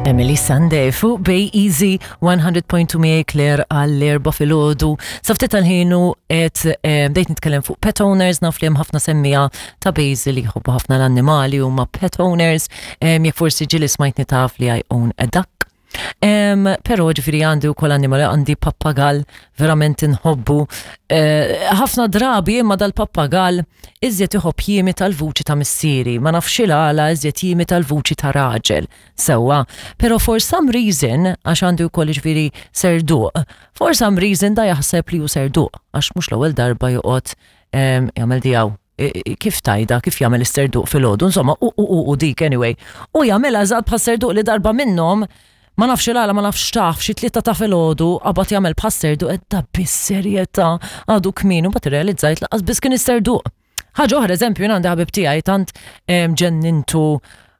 Emily Sunday fuq Bay Easy 100.2 miegħi Claire għall-erba filgħodu. Sa ftit tal-ħinu qed eh, bdejt nitkellem fuq pet owners naf li hemm ħafna semmija ta' Basil li jħobbu ħafna l-annimali huma pet owners. Jekk forsi ġieli smajtni taf li I own a duck. Pero ġifiri għandi u kol annimali, għandi pappagal, verament nħobbu. Eh, ħafna drabi imma dal-pappagal iżjed iħobb jimi tal-vuċi ta' missieri, ma nafx il-għala iżjed jimi tal-vuċi ta' raġel. Sewwa, pero for some reason, għax għandi wkoll ġifiri serduq, for some reason da jaħseb li hu serduq, għax mhux l-ewwel darba joqgħod jagħmel dijaw kif tajda, kif jagħmel is-serduq filgħodu, insomma, u u u u dik anyway. U jagħmilha eżatt bħas serduq li darba minnhom ma nafx il-għala ma nafx taf xi tlieta ta' filgħodu qabad jagħmel bħas serduq qed da bis-serjetà għadu kmin u mbagħad irrealizzajt laqas biss kien is-serduq. Ħaġa oħra, eżempju, jien għandi ħabib tiegħi tant ġennintu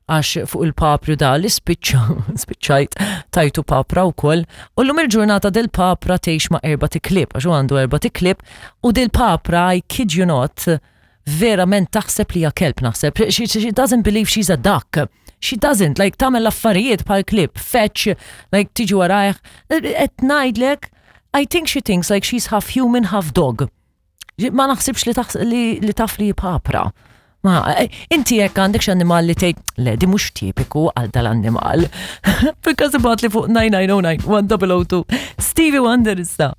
għax fuq il-papru da li spiċċa, spiċċajt tajtu papra wkoll. U llum il-ġurnata dil papra tgħix ma' erba' tiklib, għax hu għandu erba' tiklib, u dil papra, I kid you not, verament taħseb li hija kelb naħseb. She, she doesn't believe she's a duck. She doesn't, like tagħmel l-affarijiet bħal klib, fetch, like tiġi warajh. Qed ngħidlek, I think she thinks like she's half human, half dog. Ma naħsibx li, li, li taf li papra. Ma, eh, inti jekk għandek xi annimal li tgħid, le di mhux tipiku għal dal-annimal. Because ibgħat li fuq 9909 1002. Stevie Wonder issa.